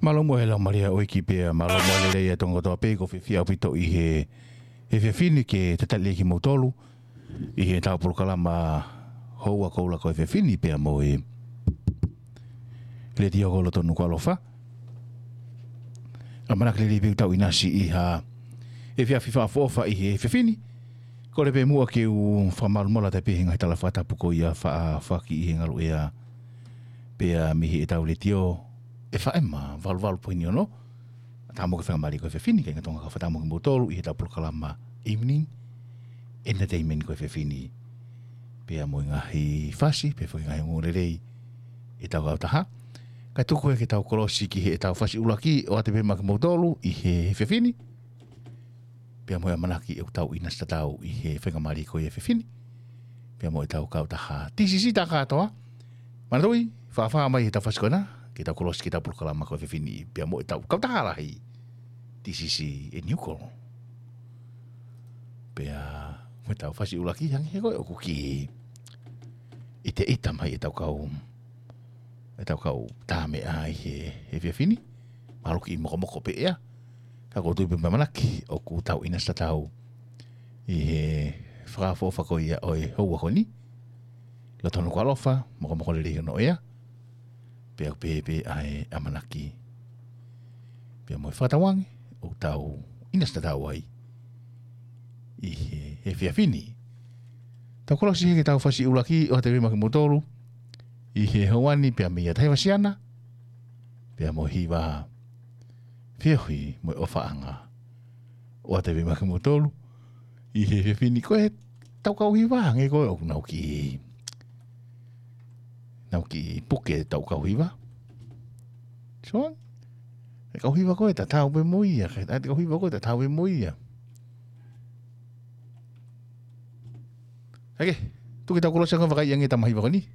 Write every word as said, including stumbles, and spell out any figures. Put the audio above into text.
Mālō muʻa e laumālie ʻo e ʻEiki pea mālō muʻa e lelei ʻa e Tonga kotoa pē. ʻOku ou fiefia ʻaupito ʻi he, he efiafi ni ke talitali kimoutolu ʻi heʻetau polokalama houa koula ko e efiafi ni pea mo e Letiō ko e Loto Nukuʻalofa. ʻAmanaki lelei pē ʻoku tau ʻinasi ʻi ha efiafi fakaʻofoʻofa ʻi he efiafi ni. Kole pē muʻa ke u fakamalumalu atu pē he ngaahi tala fakatapu ko ia faʻa foaki ʻi he ngaluʻea pea mei heʻetau letiō F M valu valu poini ono. Tau moʻui faingamālie ko e efiafi ni, kāinga Tonga, kau fakatapu mo kimoutolu ʻi heʻetau polokalama Evening Entertainment ko e efiafi ni. Pea mo e ngaahi fasi, pea foki ngaahi ongoongolelei ʻetau kautaha. Kae tuku ke tau kolosi ki heʻetau fasi ʻuluaki, ʻoatu pē maʻa kimoutolu ʻi he efiafi ni. Pea mo e ʻamanaki ʻoku tau ʻinasi tatau ʻi he faingamālie ko e efiafi ni. Pea mo ʻetau kautaha T C C tā kātoa. Manatuʻi, fāfā mai heʻetau fasi ko ena, ke tau kolosi ki heʻetau polokalama ko e efiafi ni. Pea mo ʻetau kautaha lahi, T C C ʻe Nuku. Pea mo ʻetau fasi ʻuluaki hangē ko ē ʻoku kiʻi ʻiteʻita mai ʻetau kau, ʻetau kau tā meʻa ʻi he, he efiafi ni. Mahalo kiʻi mokomoko pē ʻea. Ka ʻoku ou tui pē mo ʻamanaki ʻoku tau ʻinasi tatau ʻi he fakaʻofoʻofa ko ia ʻo e houa ko eni. Loto Nukuʻalofa, mokomoko lelei hono ʻea. Pea ʻoku pehē pē ʻa e ʻamanaki. Pea mo e fakatauange ʻoku tau ʻinasi tatau ai ʻi he, he efiafi ni. Tau kolosi heni ki heʻetau fasi ʻuluaki, ʻoatu pē maʻa kimoutolu ʻi he houa ni pea mei a Tahi Vasiana, pea mo e hiva Feohi mo e ʻOfaʻanga. ʻOatu pē maʻa kimoutolu ʻi he efiafi ni. Ko ʻetau kau hiva hangē ko ē ʻoku nau kiʻi, nau kiʻi puke ʻetau kau hiva. So, e kau hiva ko ē tatau pē mo ia, ka e kau hiva ko ē tatau pē mo ia. Hake, tuku ke tau kolosi ange, vakai ange ʻetau mahiva ko eni.